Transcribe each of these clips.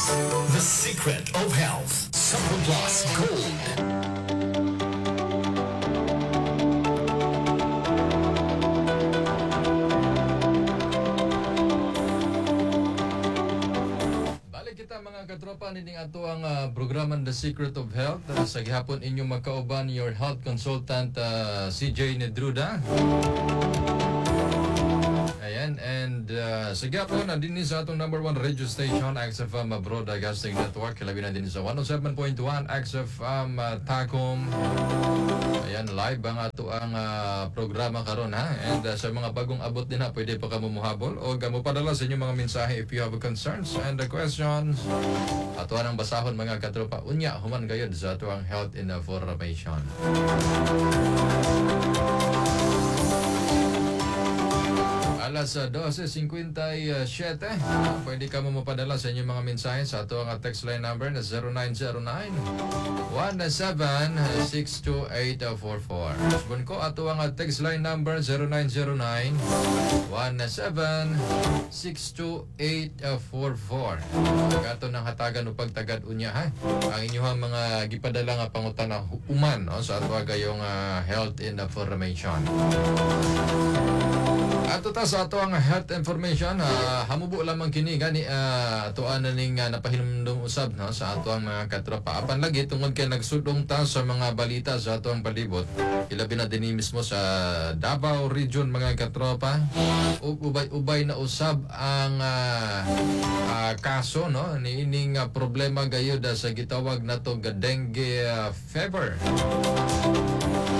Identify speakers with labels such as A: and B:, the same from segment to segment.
A: Plus, the secret of health. Supple Plus Gold.
B: Balik kita, mga katropa, nining ato ang programa The Secret of Health. Sa gihapon inyong magkauban, your health consultant, CJ Nedruda. Ayan, and sa gihapon na din sa atong number one radio station, XFM Broadcasting Network. Labi na din sa 107.1 XFM Tagum. Ayan, live ang ato ang programa karon, ha. And sa mga bagong abot din ha, pwede pa kamo muhabol o mo padala sa inyong mga mensahe if you have concerns and questions. Ato ang basahon, mga katropa, unya human gayud sa ato ang health information. Alas 12:57, pwede ka mo mapadala sa inyong mga mensahe sa ato ang text line number na 0909 1762844. Subon ko ato ang text line number 0909 1762844. Ato nang hatagan o pagtagad unya ha ang inyong mga gipadala nga pangutana human, no, sa ato gayong health information. Ato ta sa ato ang health information, hamubo lamang kini gani atoan na ning napahinumdum usab, no, sa ato ang mga katropa. Apan lagi tungod kay nagsudong ta sa mga balita sa ato ang palibot, ilabi na dinhi mismo sa Davao Region, mga katropa, ug ubay-ubay na usab ang kaso, no, niining problema gayud sa gitawag nato ga dengue fever.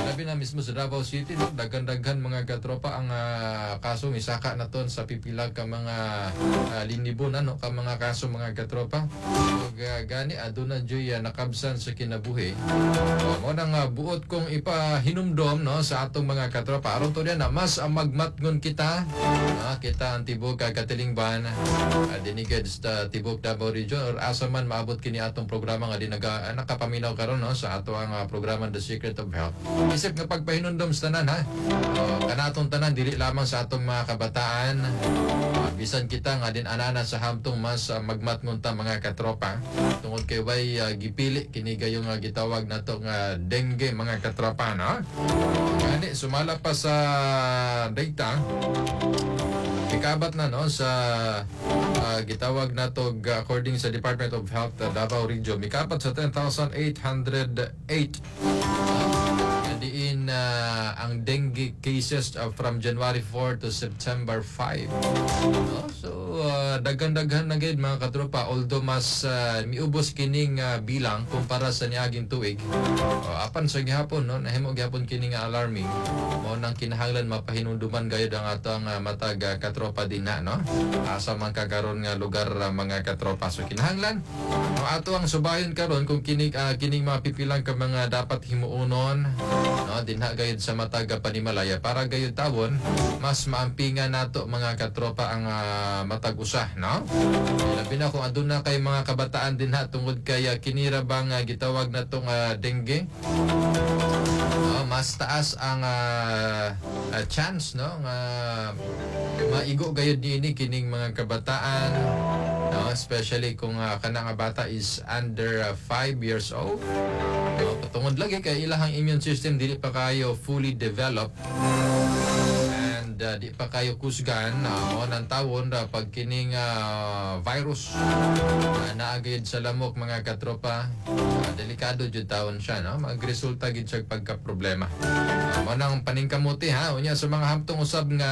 B: Labi na mismo sa Davao City, no, daghan-daghan, mga katropa, ang kaso. Misaka na ton sa pipila ka mga linibon ano ka mga kaso, mga katropa, ug gani aduna juy nakabsan sa kinabuhi. O, mo nang buot kong ipahinumdom, no, sa atong mga katropa aron to na mas magmatngon kita, no, kita ang tibok katilingban dinhi sa tibok Davao Region or asa man maabot kini atong programa nga di nakapaminaw karon, no, sa ato ang programa The Secret of Health. Isip nga pagpahinumdom sa tanan ha. O, kanatong tanan, dili lamang sa atong mga kabataan, bisan kita nga din anana sa hamtong mas magmatngon ta, mga katropa, tungod kay way gipili kini gayong gitawag nato nga dengue, mga katropa, no. Gani sumala pa sa data, ikabat na, no, sa gitawag nato according sa Department of Health Davao Region, mikapat sa 10,808 diin ang dengue cases from January 4 to September 5. No? So daghan-daghan na gid, mga katropa, although mas miubos kining bilang kumpara sa niaging tuig. Apan sa gihapon, no, nahimo gihapon kini nga alarming. Mao nang kinahanglan mapahinumduman gayud ang atong matag katropa din na, no. Asa man ka karon nga lugar, mga katropa. So kinahanglan, no, ato ang subayon karon kung kining mga pipilang ka mga dapat himuonon, no, dinha gayud sa matag panimalaya para gayud tawon mas maampingan nato, mga katropa, ang matag usa, no. Labi na kung aduna kay mga kabataan dinha tungod kay kinira bang gitawag natong dengue, no, mas taas ang chance, no, nga maigo gayud niini kining mga kabataan, no, especially kung kana nga bata is under 5 years old, no, tungod lagi kay ilahang immune system dili pa kayo fully developed and di pa kayo kusgan. Mo nang tawon ra pag kining virus naa gayud sa lamok, mga katropa, delikado jud tawon siya, no, magresulta gid siya pagka problema. Mo nang paningkamuti ha unya sa mga hamtong usab nga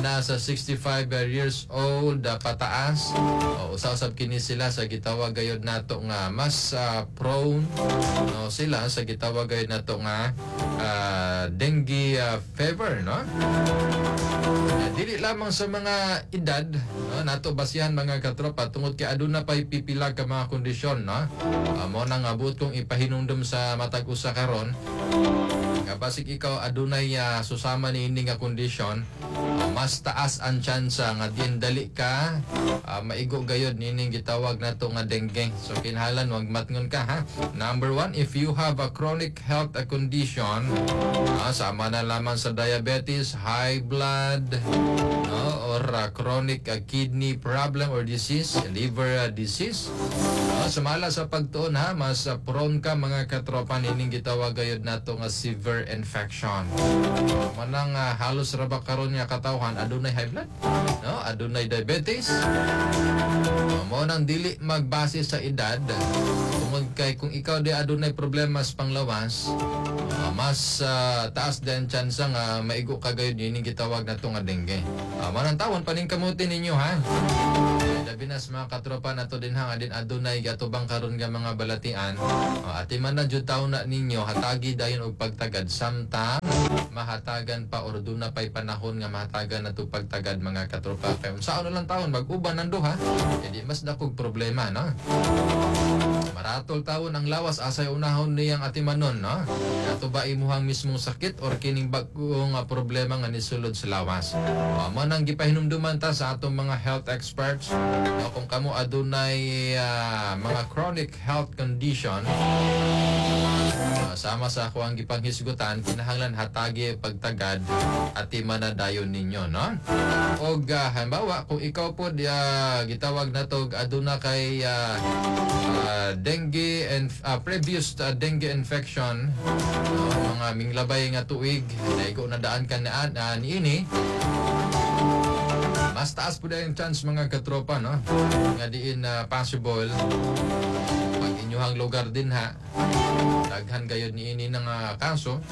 B: nasa 65 years old pataas o usa-usab kini sila sa gitawag gayud nato nga mas prone, no, sila sa gitawag gayud nato nga dengue fever, no. Dili lamang sa mga edad, no, nato basihan, mga katropa, tungod kay aduna pay pipila ka mga kondisyon, no. Mo nang abot kong ipahinumdum sa matag usa karon nga Nga basig ikaw adunay susama niini nga kondisyon, mas taas ang tsansa nga diin dali ka maigo gayod nining gitawag nato nga dengue. So kinahanglan wag matngon ka, ha. Number one, if you have a chronic health condition, sama na lamang sa diabetes, high blood, no, or chronic kidney problem or disease, liver disease. No, sumala sa pagtuon, ha, mas prone ka, mga katropa, nining gitawag gayud nato nga severe infection. Manang halos ra ba karon nga katawhan adunay high blood, no? Adunay diabetes. Mao nang dili magbase sa edad tungod kay kung ikaw di adunay problema sa panglawas, mas taas din tsansa nga maigo ka gayud nining gitawag nato nga dengue. Manang tawon paningkamuti ninyo, ha. Labi na sa mga katropa nato din ha nga din adunay gatubang karon nga mga balatian. Atiman na jud taon na ninyo, hatagi dayon og pagtagad samtang mahatagan pa or duna pay panahon nga mahatagan na to pagtagad, mga katropa, kay unsaon na lang taon mag-uban ang duha, edi mas dakog problema, no? Maratol tawon ang lawas, asay unahon niyang atimanon, no? Kato ba imuhang mismong sakit or kining bag-ong problema nga nisulod sa lawas? Mo nang gipahinumduman ta sa atong mga health experts, no, kung kamo adunay mga chronic health condition, sama sa ako ang gipanghisgutan, kinahanglan hatagi pagtagad atiman na dayon ninyo, no? Og halimbawa, kung ikaw po gitawag na to aduna kay dengue and previous dengue infection, no, mga minglabay nga tuig naigo na daan ka na niini, mas taas po yung chance, mga katropa, no, nga diin na possible pag inyuhang lugar din ha daghan gayud niini nga kaso,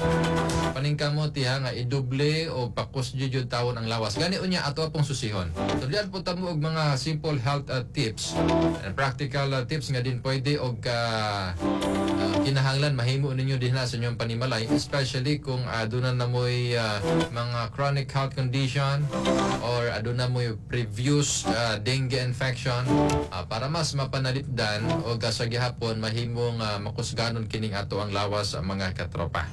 B: paningkamot ha nga idoble o pakus jud tawon ang lawas. Gani unya ato pong susihon. So diyan po tamo og mga simple health tips and practical tips nga din pwede og kinahanglan mahimo ninyo din na sa inyong panimalay, especially kung aduna na mo'y mga chronic health condition or aduna mo'y previous dengue infection, para mas mapanalipdan o sa gihapon mahimong makusganon kining ato ang lawas sa mga katropa.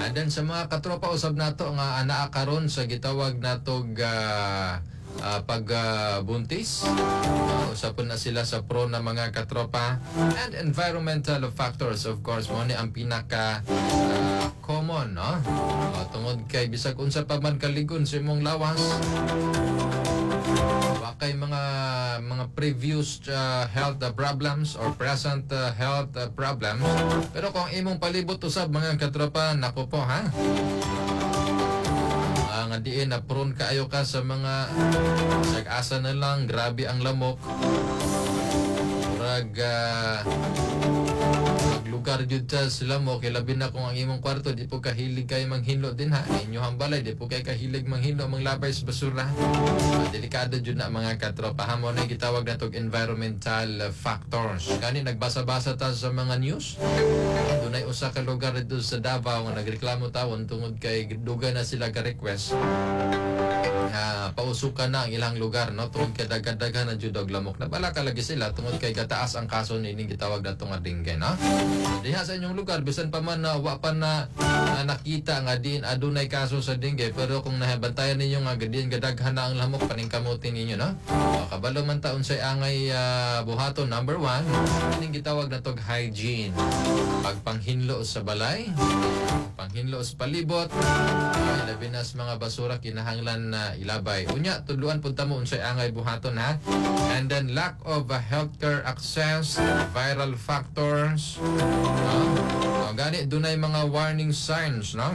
B: And then sa mga katropa usab nato nga anaa karon sa gitawag natog pagbuntis. Usapon na sila sa pro na mga katropa, and environmental factors, of course, mo ni ang pinaka common, no? Tungod kay bisag unsa pa man kaligon sa imong lawas, wa kay mga previous health problems or present health problems, pero kung imong palibot usab, mga katropa, nako po, ha, nga diin na prone kaayo ka sa mga sag-asa na lang grabe ang lamok, murag lugar jud sa lamok, kay labi na kung ang imong kwarto di po kahilig kayo manghinlo din ha inyong balay, di po kay kahilig manghinlo, manglabay sa basura. Delikado jud na, mga katropa, ha. Mo na gitawag natog environmental factors. Gani nagbasa-basa ta sa mga news, dunay usa ka lugar dito sa Davao nga nagreklamo tawon tungod kay dugay na sila ga-request nga pausukan na ang ilang lugar, no, tungod kay daghan-daghan na jud og lamok. Nabalaka lagi sila tungod kay gataas ang kaso nining gitawag nato nga dengue, no? Diha sa inyong lugar, bisan pa man na wa pa na, na nakita nga diin adunay kaso sa dengue, pero kung nabantayan ninyo nga diin gadaghan na ang lamok, paningkamutin ninyo, no? O, kabalo man ta unsay angay buhaton. Number one, kining gitawag natog hygiene, pagpanghinlo sa balay, panghinlo sa palibot, ay, labi na sa mga basura kinahanglan na ilabay. Unya tudluan pud ta mo unsay angay buhaton, ha. And then lack of healthcare access, viral factors, no? O, gani dunay mga warning signs, no?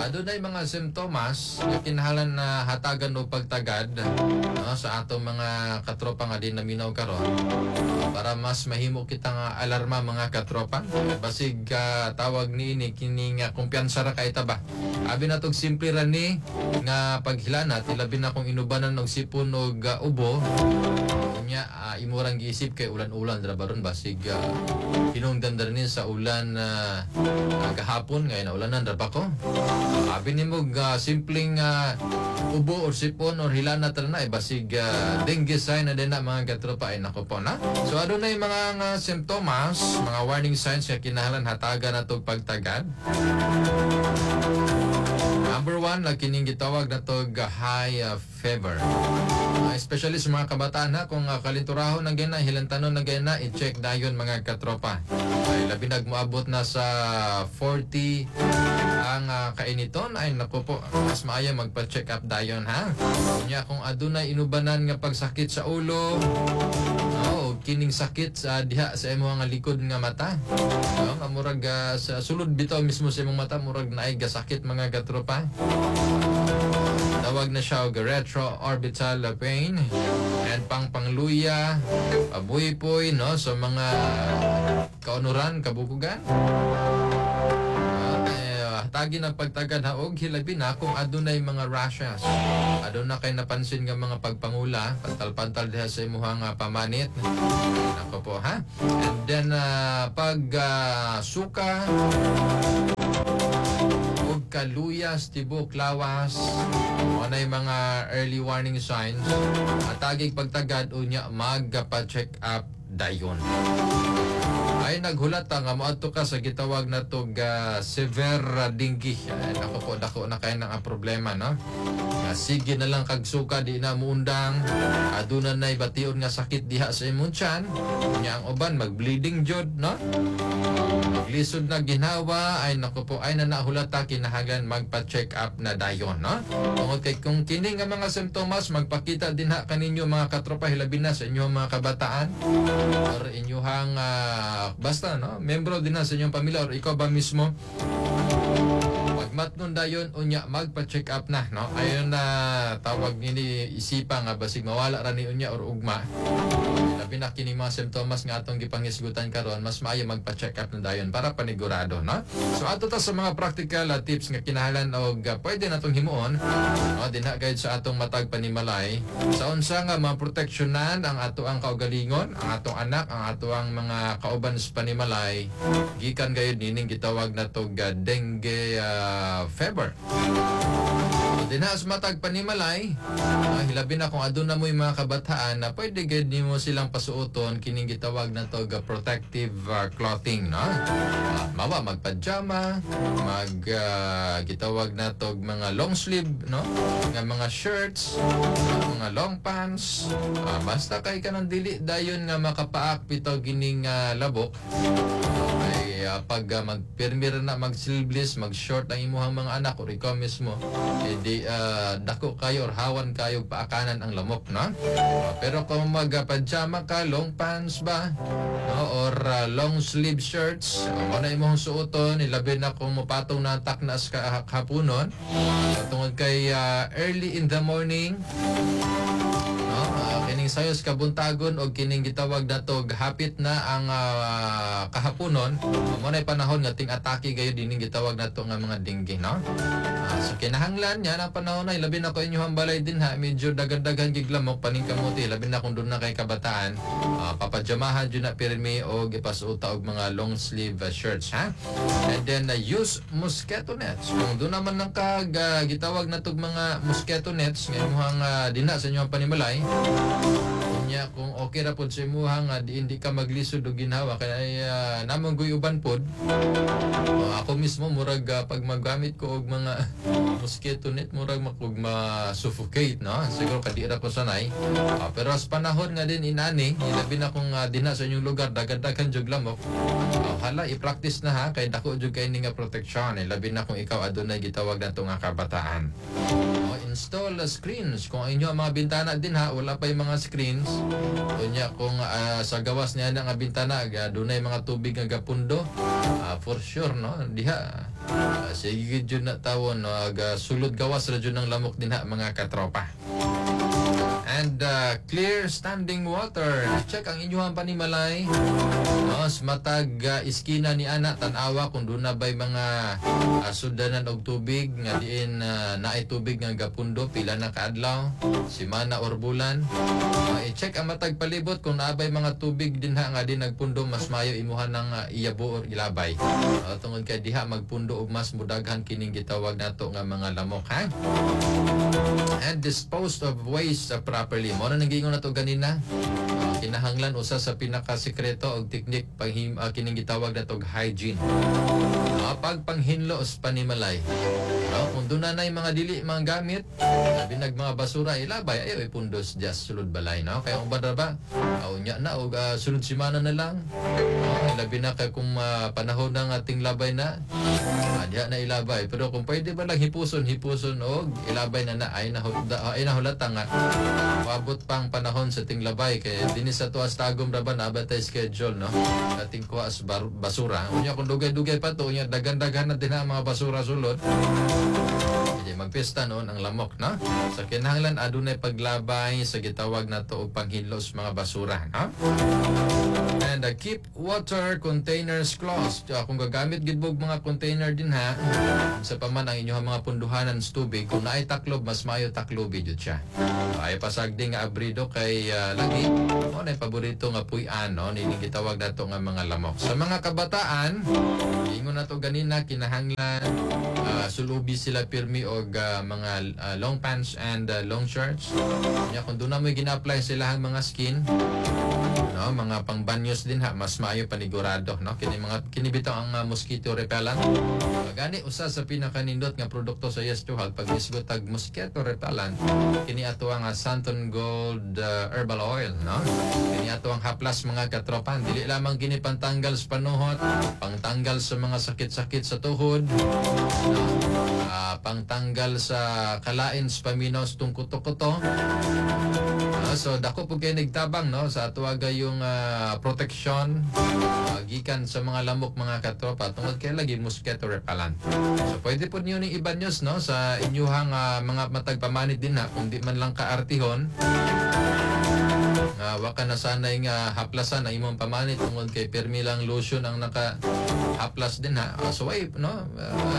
B: Adunay mga simptomas nga kinahanglan na hatagan o pagtagad, no, sa atong mga katropa nga di naminaw karon para mas mahimo kita nga alarma, mga katropa. Basig tawag niini kini nga kumpiyansa ra kay ta ba. Abi natog simple ra ni nga nga paghilanat, ilabi na kung inubanan og sipon og ubo nya, imurang giisip kay ulan-ulan dra baron, basig hinungdan dra ni sa ulan gahapon ngay naulanan ra pa ko. Abi nimo simpleng ubo or sipon or hilanat ra na, eh, basig dengue sign na din na, mga katropa. Ay nako po na. So adunay mga nga simptomas, mga warning signs nga kinahanglan hatagan nato pagtagad. Number one, na kining gitawag na tog high fever. Especially sa mga kabataan ha, kung kalinturahon na gina, hilantanon na gina, i-check dayon, mga katropa. Ay, labi nag moabot na sa 40 ang kainiton, ay naku po, mas maayo magpa-check up dayon ha. Unya kung adunay inubanan nga pagsakit sa ulo, no, kining sakit sa diha sa imong nga likod nga mata. No, nga murag sa sulod bitaw mismo sa imong mata, murag naay gasakit, mga katropa. Tawag na siya og retro-orbital pain and pang pangluya, pabuypoy, no, sa mga kaunuran, kabukugan. Eh, tagi ng pagtagad ha, og hilabi na kung adunay mga rashes. Aduna kay napansin nga mga pagpangula, pantal-pantal diha sa imuhang pamanit. Nako po ha. And then pag suka ug kaluyas tibok lawas, mo na yung mga early warning signs. Atagig pagtagad, unya magpa-check up dayon. Ay naghulat nga moadto ka sa gitawag na tog severe dengue. Ay, nako po, dako na kay nang ang problema, no? Nga sige na lang kag suka, di na muundang. Aduna nay bation nga sakit diha sa imong tiyan. Nya ang uban mag-bleeding jud, no? Lisod na ginhawa, ay nako po, ay na nahulata, kinahanglan magpa-check up na dayon, no? Tungod kay kung kini nga mga simptomas magpakita din ha kaninyo, mga katropa, hilabi na sa inyong mga kabataan or inyuhang basta, no, membro din na sa inyong pamilya or ikaw ba mismo, pagmatnon dayon, unya magpa-check up na, no? Ayon na tawag nini isipa nga basig mawala ra ni unya or ugma. Labi na kini mga simptomas nga atong gipangisgutan karon, mas maayo magpa-check up na dayon para panigurado, no? So ato ta sa mga practical tips nga kinahanglan og pwede natong himuon, no, dinha gayud sa atong matag panimalay, sa unsa nga maproteksyonan ang ato ang kaugalingon, ang atong anak, ang ato ang mga kauban sa panimalay gikan gayud nining gitawag natog dengue fever. So, dinha sa matag panimalay, hilabi na kung aduna mo yung mga kabataan na pwede gayud nimo silang pasuoton kining gitawag na to protective clothing, no? Mawa magpajama, mag gitawag na to mga long sleeve, no? Nga mga shirts, mga long pants, basta kay kanang dili dayon nga makapaak bitaw gining labok. Ay pag magpirmir na mag sleeveless, mag-short ang imuhang mga anak or ikaw mismo, edi dako kayo or hawan kayo paakanan ang lamok, no? Pero kung magpajama ka, long pants ba, no, or long sleeve shirts, mo na imong suoton, ilabi na kung mopatong na taknas ka hapunon, tungod kay early in the morning, no? Kining sayos kabuntagon og kining gitawag nato hapit na ang kahaponon, mo na panahon nga ting atake gayo dining gitawag nato nga mga dengue, no? So kinahanglan niya ang panahon na labi na ko inyong balay din ha, medyo daghan-daghan giglamok, paningkamuti, labi na kung doon na kay kabataan, papajamahan jud na pirmi og ipasuota og mga long sleeve shirts ha. And then use mosquito nets. Kung doon naman nang kag gitawag na tog mga mosquito nets nga imuhang dinha sa inyong panimalay. Unya kung okay ra pod sa imuha nga di hindi ka maglisod og ginhawa kay namong guy uban pod. Ako mismo murag pag maggamit ko og mga mosquito net, murag makog ma-suffocate, no? Siguro kadi ra ko sanay. Pero sa panahon nga din inani, ilabi na kung dinha sa inyong lugar daghan-daghan jud lamok, hala, i-practice na ha, kay dako jud kay ni nga protection, labi na kung ikaw adunay gitawag nato nga kabataan. Oh, install screens kung ang inyo ang mga bintana din ha, wala pa yung mga screens. Unya kung sa gawas niya na nga bintana dunay mga tubig nga gapundo, for sure, no, diha sige jud na tawon, no, aga sulod gawas ra jud ng lamok dinha, mga katropa. And clear standing water. Check ang inyong panimalay. No, sa matag iskina ni ana, tan-awa kung doon na ba'y mga sudanan og tubig nga diin naay tubig nga gapundo pila na kaadlaw, simana or bulan. I-check ang matag palibot kung naabay mga tubig dinha nga di nagpundo, mas mayo imuha ng iyabo or ilabay. Tungod kay diha magpundo og mas mudaghan kining gitawag nato nga mga lamok, ha? And dispose of waste properly. Mo na nang giingon nato ganina. Kinahanglan usa sa pinakasekreto og teknik panghim kining gitawag nato og hygiene. Pagpanghinlo sa panimalay. No, kung doon na mga dili mga gamit, labi nag mga basura, ilabay, ayo ipundos just sulod balay, no? Kaya kung ba ba, unya na og sulod simana na lang. No, labi na kay kung panahon ng ating labay na, diha na ilabay. Pero kung pwede ba lang hipuson, hipuson og ilabay na na ay na ay nahulata nga paabot pang panahon sa tinglabay kay dinhi sa tuas Tagum ra ba na ba tay schedule, no, ating kuha sa basura. Unya kung dugay-dugay pa to, unya dagan-daghan na din ang mga basura sulod. Hindi magpista noon ang lamok, no? Sa kinahanglan adunay paglabay sa gitawag nato og panghinlo sa mga basura, no? And keep water containers closed. Kung gagamit gid mo og mga container din ha, sa paman ang inyong mga punduhanan sa tubig, kung naay taklob, mas maayo taklobi jud siya. Ay pasagdi nga abrido kay lagi mo na paborito nga puy-an, no, nining gitawag nato nga mga lamok. Sa mga kabataan, ingon nato ganina, kinahanglan sulubi sila pirmi og mga long pants and long shirts. Nya kung doon na mo gina-apply sila ang mga skin, no, mga pangbanyos din ha, mas maayo panigurado, no, kini mga kini bitaw ang mosquito repellent. Gani usa sa pinakanindot nga produkto sa Yes to Health pag isgot tag mosquito repellent, kini ato ang Santon Gold Herbal Oil, no? Kini ato ang haplas, mga katropan. Dili lamang kini pantanggal sa panuhot, pangtanggal sa mga sakit-sakit sa tuhod, no? Pangtanggal sa kalain sa paminaw sa tungkuto-kuto. So dako po kay nagtabang, no, sa ato yung protection gikan sa mga lamok, mga katropa, tungod kay lagi mosquito repellent. So pwede po niyo ning ibanyos, no, sa inyuhang mga matag pamanit din ha, kung di man lang kaartihon nga wa ka na sanay nga haplasan ang imong pamanit tungod kay pirmi lang lotion ang naka haplas din ha. So ay no,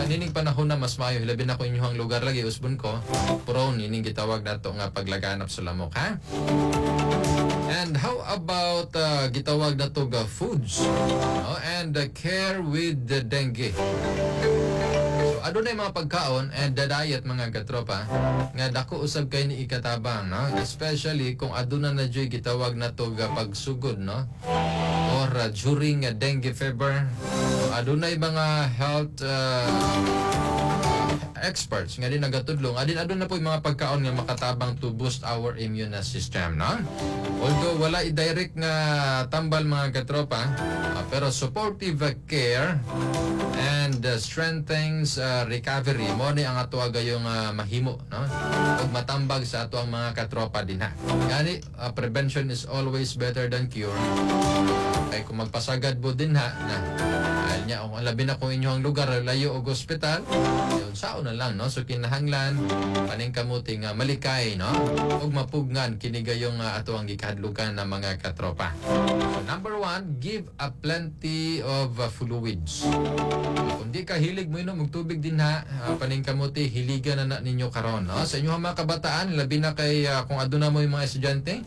B: nining panahon na mas maayo, labi na kung inyong lugar lagi usbon ko prone ining gitawag nato nga paglaganap sa lamok, ha. And how about gitawag nato ga foods, no? And care with the dengue. So adunay mga pagkaon and the diet, mga katropa, nga dako usab kay ni ikatabang, no, especially kung aduna na joy gitawag nato ga pagsugod, no, or during a dengue fever. So, adunay mga health experts nga din nagatudlong adin aduna po yung mga pagkaon nga makatabang to boost our immune system, no? Although wala i-direct nga tambal, mga katropa, pero supportive care and strengthens recovery mo ni ang ato gayong mahimo, no, ug matambag sa ato ang mga katropa din ha. Gani prevention is always better than cure kay kung magpasagad mo din ha na ay niya kung labi na kung inyong lugar layo og ospital, yun sao na lang, no? So kinahanglan paningkamuti nga malikay, no, ug mapugngan kini gayong ato ang gikahadlukan ng mga katropa. So number one, give a plenty of fluids. Kung di ka hilig mo inom og tubig din ha, paningkamuti hiligan na na ninyo karon, no, sa inyong mga kabataan, labi na kay kung aduna mo yung mga estudyante.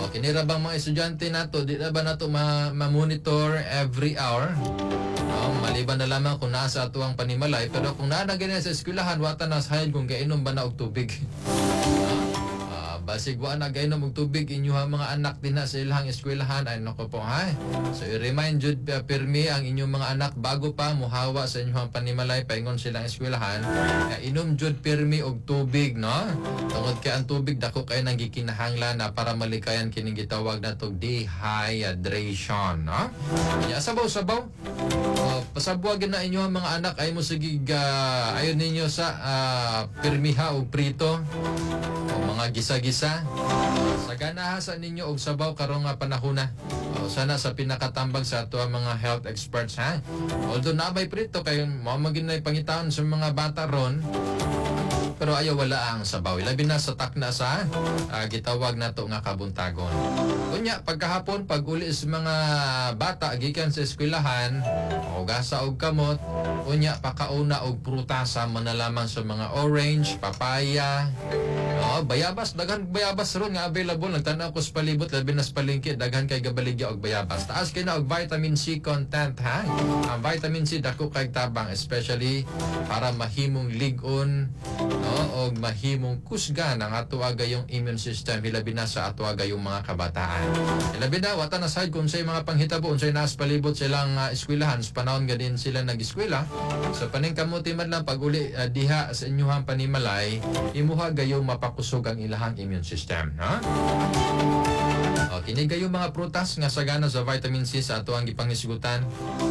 B: O, kinira bang mga estudyante nato, di na ba nato ma-monitor every hour? No, maliban na lamang kung nasa ato ang panimalay, pero kung naa na ganyan sa eskwelahan, wata na sa kung gainom ba na og tubig. No? Basig wa na gainom og tubig inyuha mga anak din na sa ilang eskwelahan, ay nako po ha. So i-remind jud pirmi ang inyong mga anak bago pa muhawa sa inyong panimalay paingon silang eskwelahan nga inom jud pirmi og tubig, no? Tungod kay ang tubig dako kay nang gikinahanglan na para malikayan kining gitawag natog dehydration, no? Ya sabaw-sabaw. Pasabwagin na inyo ang mga anak ay mo sige ayon ninyo sa pirmiha og prito o mga gisa-gisa. Sagana sa ninyo og sabaw karong nga panahon na. O, sana sa pinakatambag sa ato ang mga health experts ha. Although nabay prito kay mao magin na pangitaon sa mga bata ron. Pero Pero ayaw wala ang sabaw. Labi na sa takna sa gitawag nato nga kabuntagon. Unya pagkahapon, pag uli sa mga bata gikan sa eskwelahan, hugasa og kamot, unya pakauna og prutas sama na lamang sa mga orange, papaya, oh, bayabas, daghan bayabas ron nga available. Nagtan-aw ko sa palibot, labi na sa palengke, daghan kay gabaligya og bayabas. Taas kay na og vitamin C content, ha. Ang vitamin C dako kay tabang, especially para mahimong lig-on, no, og mahimong kusgan ang ato gayong immune system, hilabi na sa ato gayong mga kabataan. Hilabi na wata na side kung unsay mga panghitabo, unsay naas palibot silang eskwelahan sa panahon ga din sila nag-eskwela. So paningkamuti man lang pag uli diha sa inyuhang panimalay, imuha gayong mapakusog ang ilahang immune system, ha? O, kini gayong mga prutas nga sagana sa vitamin C sa ato ang gipangisgutan: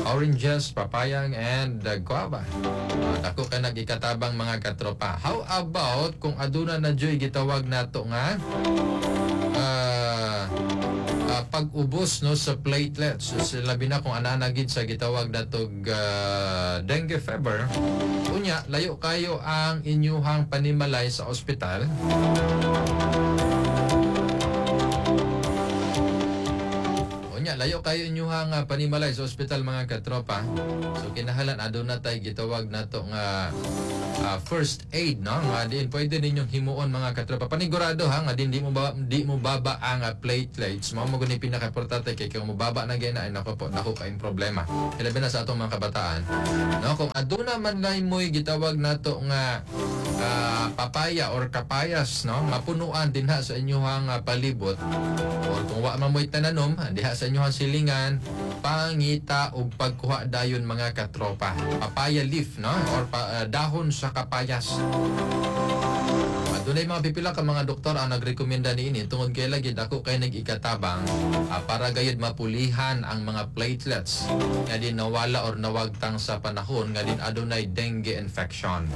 B: oranges, papaya, and guava. O, dako ka nag-ikatabang, mga katropa. How about kung aduna na joy gitawag nato nga pag-ubos, no, sa platelets? So, labi na kung ana gid sa gitawag natog dengue fever, unya layo kayo ang inyuhang panimalay sa ospital. Unya layo kayo inyuhang panimalay sa ospital, mga katropa. So kinahalan aduna tay gitawag nato nga first aid, no, nga diin pwede ninyong himuon, mga katropa, panigurado ha nga din di mo baba ang platelets. Mao mo guni pinaka-importante kay kung mobaba na gyud na, ay nako po, dako kayong problema, hilabi na sa atong mga kabataan, no. Kung aduna man lang mo'y gitawag nato nga papaya or kapayas, no, mapunuan dinha sa inyuhang palibot or kung wa man mo'y tananom diha sa inyuhang silingan, pangita og pagkuha dayon, mga katropa, papaya leaf, no, or dahon sa kapayas. Dunay mga pipila ka mga doktor ang nagrekomenda niini tungod kay lagi dako kay nag-ikatabang para gayud mapulihan ang mga platelets nga din nawala or nawagtang sa panahon nga din adunay dengue infection.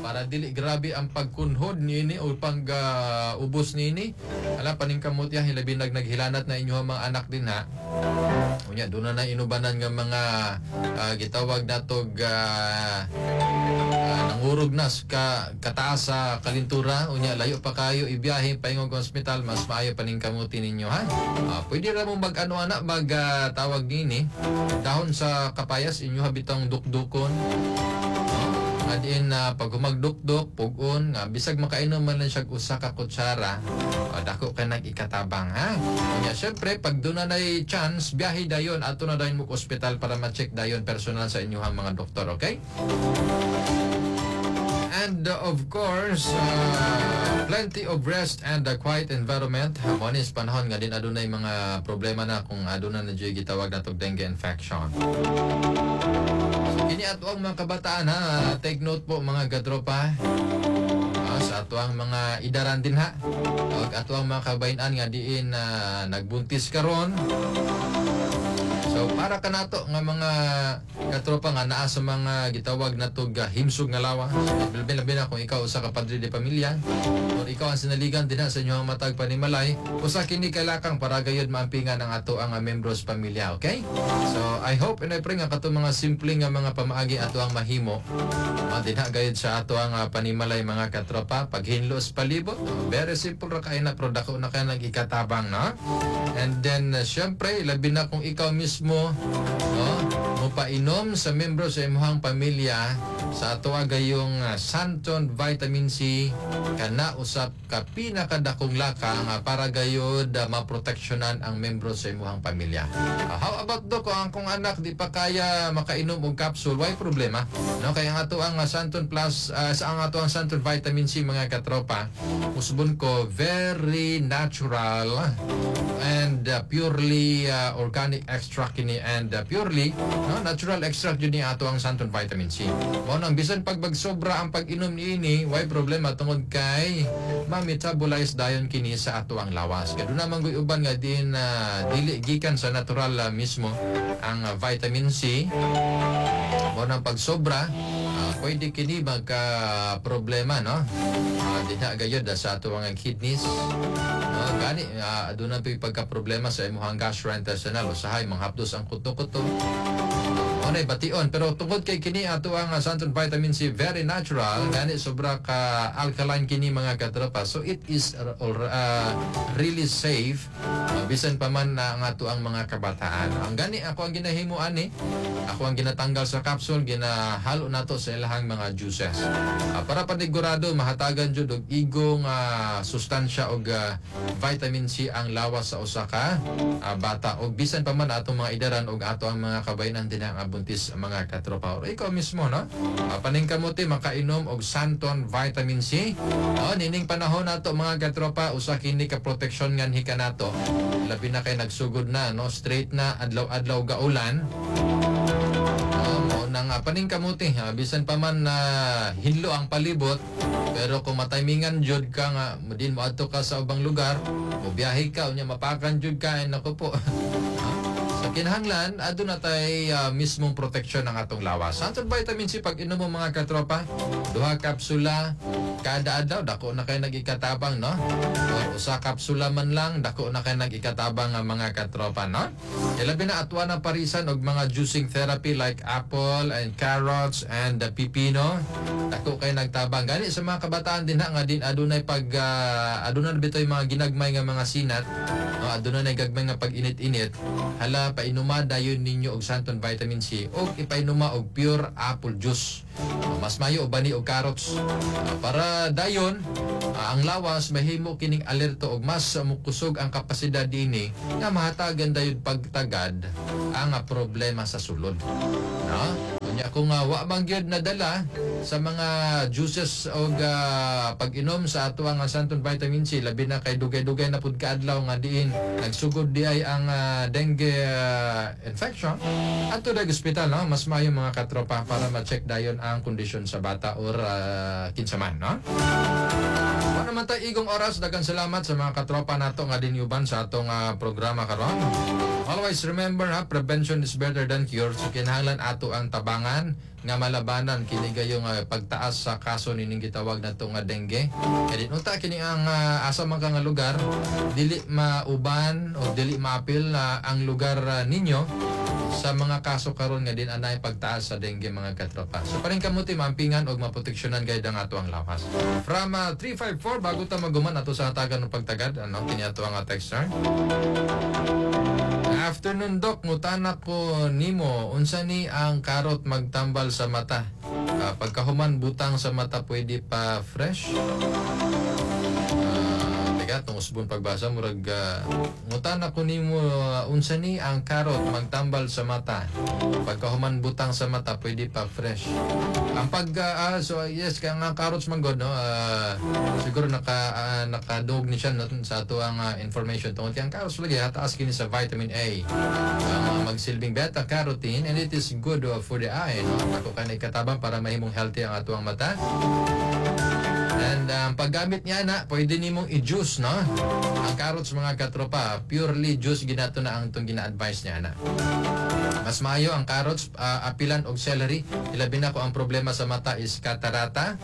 B: Para dili grabe ang pagkunhod niini o pag ubos niini, ala, paningkamot ya, hilabi nag naghilanat na inyong mga anak din ha. Unya doon na inubanan nga mga gitawag natog nangurog na ka kataas sa kalintura, unya layo pa kayo ibiyahe paingong ospital, mas maayo paningkamuti ninyo ha. Pwede ra mo mag ano ana mag tawag niini, dahon sa kapayas, inyo habitang dukdukon nga diin na pag humagdukdok pugon nga bisag makainom man lang siya usa ka kutsara, dako kay nag-ikatabang ha. Unya syempre pag doon na nay chance, biyahe dayon, ato na dayon mo ospital para ma-check dayon personal sa inyong mga doktor, okay? And of course, plenty of rest and a quiet environment. Mo ni panahon nga din adunay mga problema na kung aduna na dyo'y gitawag natog dengue infection. So kini ato ang mga kabataan ha, take note po, mga katropa. Sa ato ang mga idaran din ha. Og ato ang mga kabayan nga diin na nagbuntis karon. So para kanato nga mga katropa nga naa sa mga gitawag natog himsog nga lawa. Labi labi na kung ikaw usa ka padre de pamilya or ikaw ang sinaligan dinha sa inyong matag panimalay, usa kini kalakang para gayud maampingan ang ato ang membros pamilya, okay? So I hope and I pray nga katong mga simple nga mga pamaagi ato ang mahimo. Dinha gayud sa ato ang panimalay, mga katropa, paghinlos palibot, very simple ra kay na pero dako na kay nag-ikatabang, no? And then syempre labi na kung ikaw mismo, no, mopainom sa membro sa imong pamilya sa ato gayong Santon Vitamin C, kana usap ka pinakadakong lakang para gayud maproteksyonan ang membro sa imong pamilya. How about do kung ang kong anak di pa kaya makainom og capsule, why problema? No, kaya ang ato ang Santon Plus sa ang ato ang Santon Vitamin C, mga katropa, usbon ko very natural and purely organic extract kini and purely, no, natural extract yun ni ato ang Santon Vitamin C. Mao nang bisan pag magsobra ang pag-inom niini, why problema tungod kay ma-metabolize dayon kini sa ato ang lawas. Kaya doon naman guy uban nga din dili gikan sa natural mismo ang vitamin C. Mao nang pagsobra, pwede kini magka problema, no? Dinha gayud sa ato ang kidneys. No, gani aduna pa'y pagka problema sa imong gastrointestinal, usahay manghapdos ang kuto-kuto. Mao na bation, pero tungod kay kini ato ang Santon Vitamin C, very natural gani, sobra ka alkaline kini, mga katropa, so it is really safe bisan pa man na ang ato ang mga kabataan. Ang gani ako ang ginahimo ani, ako ang ginatanggal sa capsule, ginahalo nato sa ilahang mga juices para panigurado mahatagan jud og igong sustansya og vitamin C ang lawas sa usa ka bata og bisan pa man atong mga idaran og ato ang mga kabayanan din ang buntis, mga katropa, or ikaw mismo, no? Paningkamuti makainom og Santon Vitamin C, no? Nining panahon nato, mga katropa, usa kini ka proteksyon nganhi kanato, labi na kay nagsugod na, no, straight na adlaw-adlaw gaulan. Mo nang paningkamuti ha, bisan pa man na hinlo ang palibot, pero kung mataymingan jud ka nga din mo adto ka sa ubang lugar, mo biyahe ka, unya mapakan jud ka, ay nako po. Sa kinahanglan, aduna tay mismong proteksyon ng atong lawas. Santon Vitamin C, pag inom mo, mga katropa, duha kapsula kada adlaw, dako na kay nag-ikatabang, no? Or usa kapsula man lang, dako na kay nag-ikatabang ang mga katropa, no? Ilabi na atwa na parisan og mga juicing therapy like apple and carrots and the pipino. Dako kay nagtabang. Gani sa mga kabataan din ha, nga din adunay pag adunay bitoy mga ginagmay nga mga sinat, no, adunay na gagmay nga pag init-init. Hala, painuma dayon ninyo og Santon Vitamin C og ipainuma og pure apple juice. Mas mayo og bani og carrots. Para dayon ang lawas mahimo kining alerto og mas mukusog ang kapasidad dinhi nga mahatagan dayon pagtagad ang problema sa sulod. No? Unya kung wa man gyud nadala sa mga juices og pag-inom sa ato ang Santon Vitamin C, labi na kay dugay-dugay na pud kaadlaw nga diin nagsugod di ay ang dengue infection, adto dag ospital, no? Mas maayo, mga katropa, para ma-check dayon ang kondisyon sa bata or kinsa man, no? Wa naman tayo igong oras. Daghang salamat sa mga katropa nato nga dinyuban sa atong programa karon. Always remember ha, prevention is better than cure. So kinahanglan ato ang tabangan nga malabanan kini gayong pagtaas sa kaso nining gitawag nato nga dengue. Kaya din unta kini ang asa man ka nga lugar, dili mauban o dili maapil na ang lugar ninyo sa mga kaso karon nga din anay pagtaas sa dengue, mga katropa. So paningkamuti maampingan og maproteksyonan gayud ang ato ang lawas. From 354, bago ta maguman ato sa hatagan ng pagtagad, ano kini ato ang texter. "Afternoon, Doc, ngutana ko nimo, unsa ni ang carrot magtambal sa mata? Pagkahuman butang sa mata, pwede pa fresh?" Teka, tungos usbon pagbasa, murag "Ngutana ko nimo, unsa ni ang carrot magtambal sa mata? Pagkahuman butang sa mata, pwede pa fresh?" Ang pag so yes, kaya nga carrots man god, no, siguro nakadog ni siya, no, sa ato ang information tungod kay ang carrots lagi hataas kini sa vitamin A. Ang magsilbing beta carotene, and it is good for the eye, no. Ako kay ikatabang para mahimong healthy ang ato ang mata. And paggamit niya na, pwede nimong i-juice, no? Ang carrots, mga katropa, purely juice ginato na ang itong gina-advise niya na. Mas maayo ang carrots apilan og celery, ilabi na ko ang problema sa mata is katarata.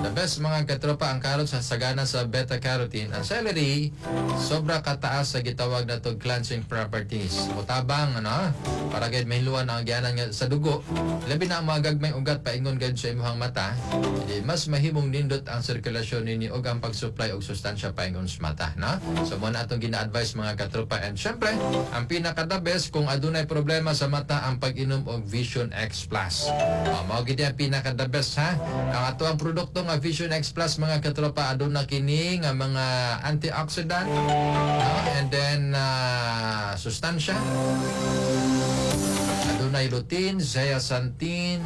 B: The best, mga katropa, ang carrots sagana sa beta carotene. Ang celery sobra kataas sa gitawag na to cleansing properties. Mutabang, ano, para gid mahiluan ang agyanan nga sa dugo. Labi na ang mga gagmay ugat paingon gid sa imong mata. Hindi, mas mahimong nindot ang sirkulasyon nini og ang pag-supply og sustansya paingon sa mata, no? So mo na atong gina-advise, mga katropa, and syempre, ang pinaka the best kung adunay problema sa mata, ang pag-inom og Vision X Plus. Oh, mao gid ang pinaka the best ha. Ang ato ang produkto nga Vision X Plus, mga katropa, aduna kini nga mga antioxidant, no? And then sustansya. Adunay lutein, zeaxanthin,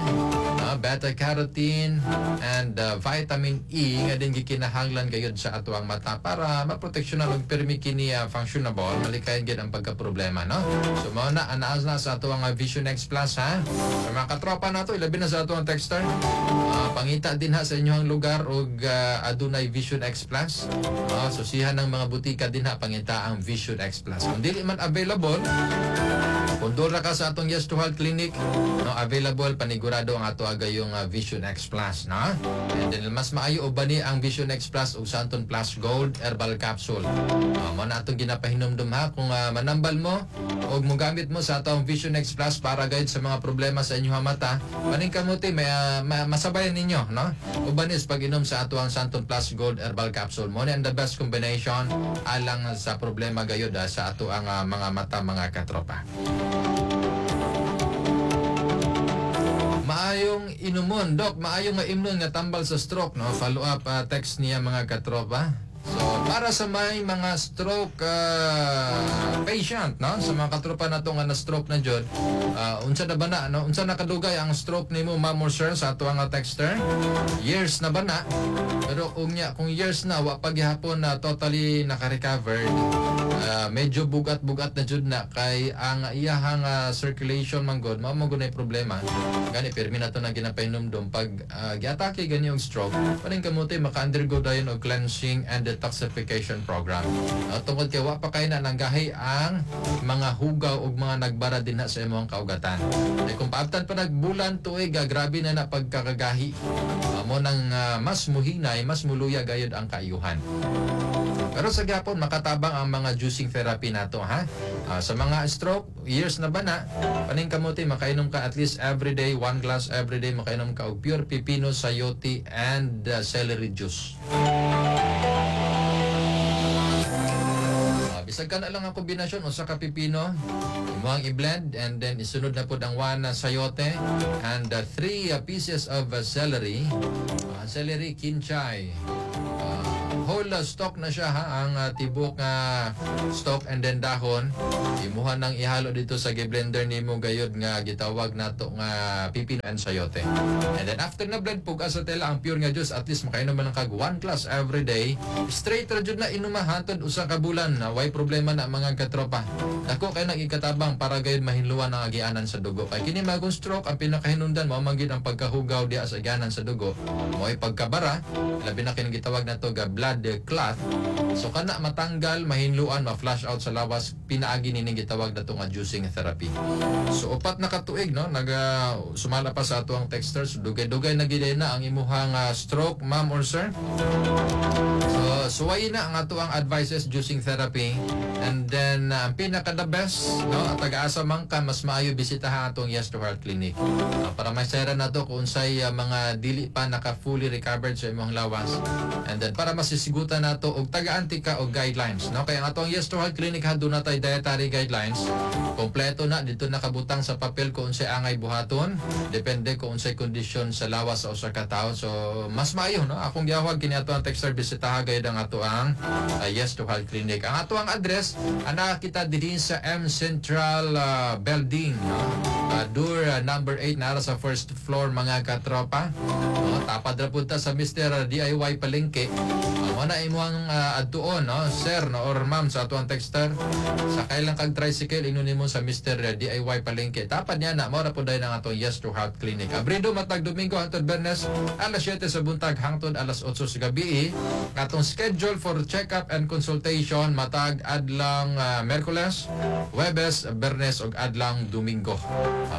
B: beta carotene and vitamin E nga din gikinahanglan gayud sa ato ang mata para maproteksyonan og pirmi kini functionable, malikayan gid ang pagka-problema, no? So mao na anaas na sa ato ang Vision X Plus ha. Sa mga katropa nato, ilabi na sa ato ang texter. Pangita dinha sa inyong lugar og adunay Vision X Plus. Susihan ng mga butika dinha, pangita ang Vision X Plus. Kung dili man available, kung doon ra ka sa atong Yes to Health Clinic, no, available panigurado ang ato agayong Vision X Plus, no? And then mas maayo uban ni ang Vision X Plus ug Santon Plus Gold Herbal Capsule. Mo na atong ginapahinumdum ha, kung manambal mo og mogamit mo sa atong Vision X Plus para gayud sa mga problema sa inyong mata, paningkamuti may masabayan ninyo, no? Uban is pag-inom sa ato ang Santon Plus Gold Herbal Capsule. Mo ni ang the best combination alang sa problema gayud sa ato ang mga mata, mga katropa. Maayong inumon, Dok, maayong nga imnon nga tambal sa stroke, no? Follow up text niya, mga katropa. So, para sa may mga stroke patient, no? Sa mga katropa nato nga na stroke na jud, unsa na ba na, no? Unsa na kadugay ang stroke nimo, ma'am or sir, sa ato ang texter? Years na ba na? Pero kung years na wa pa gihapon na totally naka-recovered, medyo bugat-bugat na jud na kay ang iyahang circulation man gud, mao man gud nay problema. Gani pirmi na to na ginapahinumdum pag giatake gani og stroke, paningkamuti maka-undergo dayon og cleansing and detoxification program. No, tungod kay wa pa kay na nanggahi ang mga hugaw ug mga nagbara dinha sa imong kaugatan. Kay kung paabtan pa nagbulan tuig, grabe na na pagkakagahi. Mo nang mas muhinay, mas muluya gayud ang kaayuhan. Pero sa gyapon makatabang ang mga juicing therapy nato ha. Sa mga stroke, years na ba na, paningkamuti makainom ka at least every day, one glass every day, makainom ka og pure pipino, sayote and celery juice. Bisag ka na lang ang kombinasyon usa ka pipino, imong i-blend and then isunod na pud ang one sayote and 3 pieces of celery. Celery kinchay. Whole stalk na siya ha, ang tibok nga stalk and then dahon. Imuha nang ihalo dito sa gi-blender nimo gayud nga gitawag nato nga pipino and sayote. And then after na blend, pug sa tela ang pure nga juice, at least makainom man lang kag one glass every day. Straight ra jud na inuma hantod usa ka bulan na way problema na, mga katropa. Dako kay nagikatabang para gayud mahinluan ang agianan sa dugo. Kay kini magong stroke, ang pinakahinungdan mao man gid ang pagkahugaw diha sa agianan sa dugo. Mo'y pagkabara, labi na kini gitawag nato ga blood clot. So kana matanggal, mahinluan, ma-flush out sa lawas, pinaagi nining gitawag nato nga juicing therapy. So 4 na katuig, no, naga sumala pa sa ato ang texter, so dugay-dugay na gid na ang imuhang stroke, ma'am or sir. So suwayin na ang ato ang advices, juicing therapy. And then ang pinaka the best, no, at taga-asa man ka, mas maayo bisitahan atong Yes to Heart Clinic. Para masera na to kung unsay mga dili pa naka fully recovered sa imong lawas. And then para masisigutan nato og tagaan ka og guidelines, no? Kaya ang atong Yes to Heart Clinic ha, doon na tay dietary guidelines. Kompleto na dito nakabutang sa papel kung unsay angay buhaton, depende kung unsay kondisyon sa lawas sa usa ka tawo. So mas maayo, no? Akong giawhag kini ato ang texter, bisitaha gayud ang ato ang Yes to Health Clinic. Ang ato ang address ana kita dinhi sa M Central Building, no? Door number 8 nara sa first floor, mga katropa. No, tapad ra pud ta sa Mr. DIY Palengke. Mo na imong adtuon, no, sir, no, or ma'am sa ato ang texter. Sakay lang kag tricycle, ingon nimo sa Mr. DIY Palengke. Tapad niya na, mao ra pud dayon ang atong Yes to Health Clinic. Abrido matag Domingo hangtod Biyernes, alas 7 sa buntag hangtod alas 8 sa gabi. Atong schedule for check-up and consultation matag adlang Miyerkules, Huwebes, Biyernes ug adlang Domingo.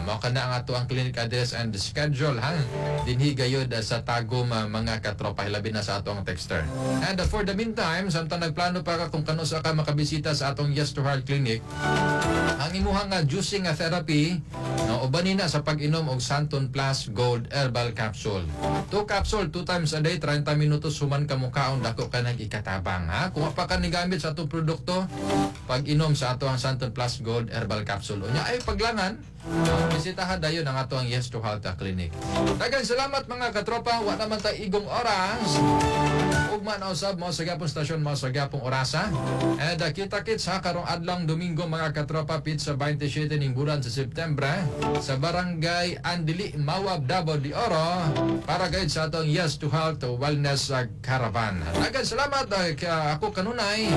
B: Mao kana ang ato ang clinic address and schedule ha. Dinhi gayud sa Tagum, mga katropa, hilabi na sa ato ang texter. And for the meantime, samtang nagplano pa ka kung kanusa ka makabisita sa atong Yes to Heart Clinic, ang imuhang nga juicing nga therapy, no, ubanin na sa pag-inom og Santon Plus Gold Herbal Capsule. 2 capsule, 2 times a day, 30 minutos human ka mukaon, dako ka nang ikatabang ha. Kung wa pa ka nigamit sa atong produkto, pag-inom sa ato ang Santon Plus Gold Herbal Capsule. Unya ay paglangan, bisitahan dayon ang ato ang Yes to Health Clinic. Daghang salamat, mga katropa, wa naman ta igong oras. Ugma na usab mao sa gihapong stasyon, mao sa gihapong orasa. And kita-kits ha karong adlawng Domingo, mga katropa, petsa 27 ning bulan sa September sa Barangay Andili, Mawab, Davao de Oro para gayud sa atong Yes to Health Wellness Caravan. Daghang salamat ako kanunay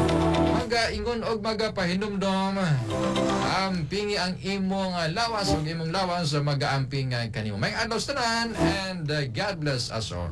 B: maga ingon og magapahinumdom, ampingi ang imong lawas ug imong lawas magaamping kanimo. Maayong adlaw sa tanan and God bless us all.